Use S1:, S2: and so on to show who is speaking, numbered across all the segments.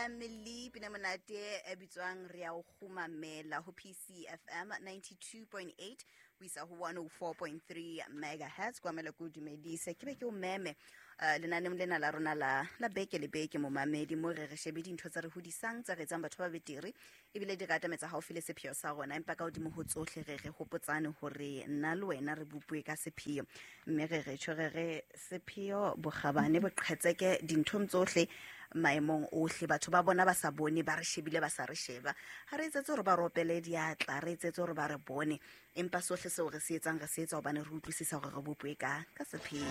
S1: Family, pina monate e bitswang re ya o kgumamela ho PCFM 92.8 ho isa ho 104.3 megahertz. Kwamela ko dumedise ke be ke o meme lenaneong lena la rona la beke le beke, momamedi, mo re re shebe dintho tsa re hodisang, tsa re etsang batho ba betere, ebile di re atametsa haufi le sepheo sa rona. Empa ka hodimo ho tsohle re re hopotsane hore nna le wena re bopue ka sepheo, mme re re tjho re re sepheo bokgabane boqhetseke dinthong tsohle, maemong ohle. Batho ba bona ba sa bone, ba re shebile ba sa re sheba, ha re etsetse hore ba ropele diatla, re etsetse hore ba re bone, empa sohle seo re se etsang re se etsa hobane re utlwisisa hore re bopue ka sepheo.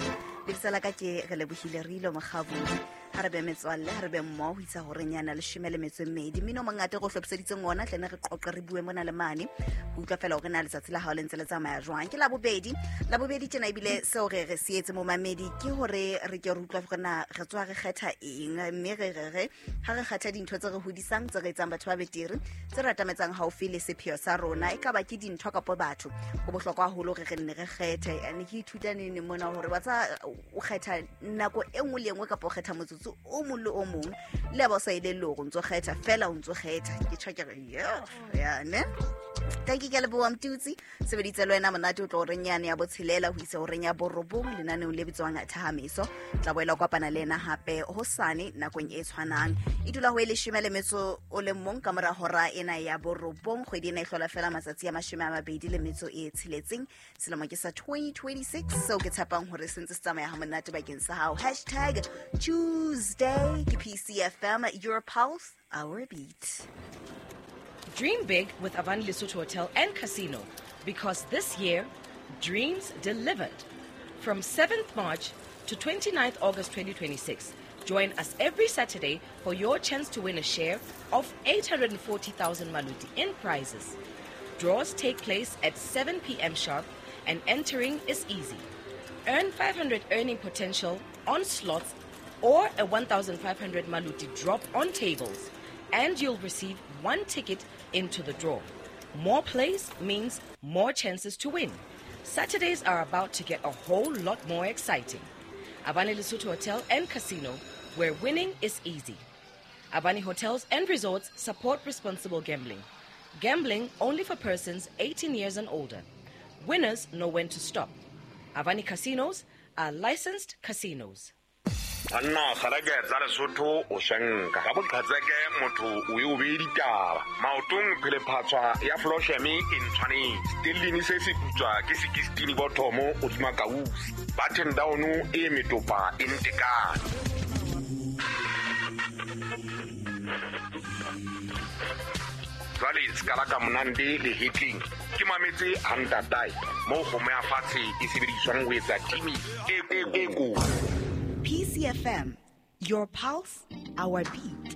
S1: Lebitso la ka ke re lebohile Rilo Mokgabudi. Ha re be metswalle, ha re be mmoho ho isa horeng yana 12. Mmino o mongata re o hlophiseditseng ona, tlene re qoqe, re bue mona le mane ho utlwa fela hore na letsatsi la hao le ntse le tsamaya jwang. Ke Labobedi, Labobedi tjena, ebile seo re re se etse, momamedi, ke hore re ke re utlwa hore na re tswa re kgetha eng, mme re re re ha re kgetha dintho tse re hodisang, tse re etsang batho ba betere, tse re atametsang haufi le sepheo sa rona, e ka ba ke dintho kapo batho, ho bohlokwa haholo re re nne re kgethe. Ne ke ithuta nene mona hore wa tsa o kgetha nako e nngwe le e nngwe, kapa o kgetha motsotso o mong le o mong, le ya ba o sa elelle hore o ntso kgetha fela, o ntso kgetha. Ke tjho ke re yo ya ne. Thank you, ke leboha Mtutsi sebeditse le wena monate o tlo horeng yane ya 6 ho isa horeng ya 9 lenaneong le bitswang Thahamiso. Tla boela o kopana le ena hape hosane nakong e tshwanang, e dula ho e 11 ka mora hora ena ya 9. Kgwedi ena e hlola fela matsatsi a 26, selemo ke sa 2026, seo ke tshepang hore se ntse se tsamaya ha monate bakeng sa hao. #Tuesday ke PCFM, your pulse, our beat.
S2: Dream big with Avani Lesotho Hotel and Casino, because this year, dreams delivered. From 7th March to 29th August 2026, join us every Saturday for your chance to win a share of 840,000 maluti in prizes. Draws take place at 7 p.m. sharp and entering is easy. Earn 500 earning potential on slots or a 1,500 maluti drop on tables, and you'll receive one ticket into the draw. More plays means more chances to win. Saturdays are about to get a whole lot more exciting. Avani Lesotho Hotel and Casino, where winning is easy. Avani Hotels and Resorts support responsible gambling. Gambling only for persons 18 years and older. Winners know when to stop. Avani Casinos are licensed casinos.
S3: Banna kgalake tsa Lesotho o shanka ka boqhatseke, motho o e o bee ditaba maotong, phelephatswa ya flosheme e ntshwanetse stellini se se putswa ke 16 bothomo hodima kausi button down e metopa e ntekane. Jwale se ka la ka monande le hetleng ke mametse hantatae moo kgomo ya fatshe e sebediswang ho etsa timi e kotsi.
S1: PCFM, your pulse, our beat.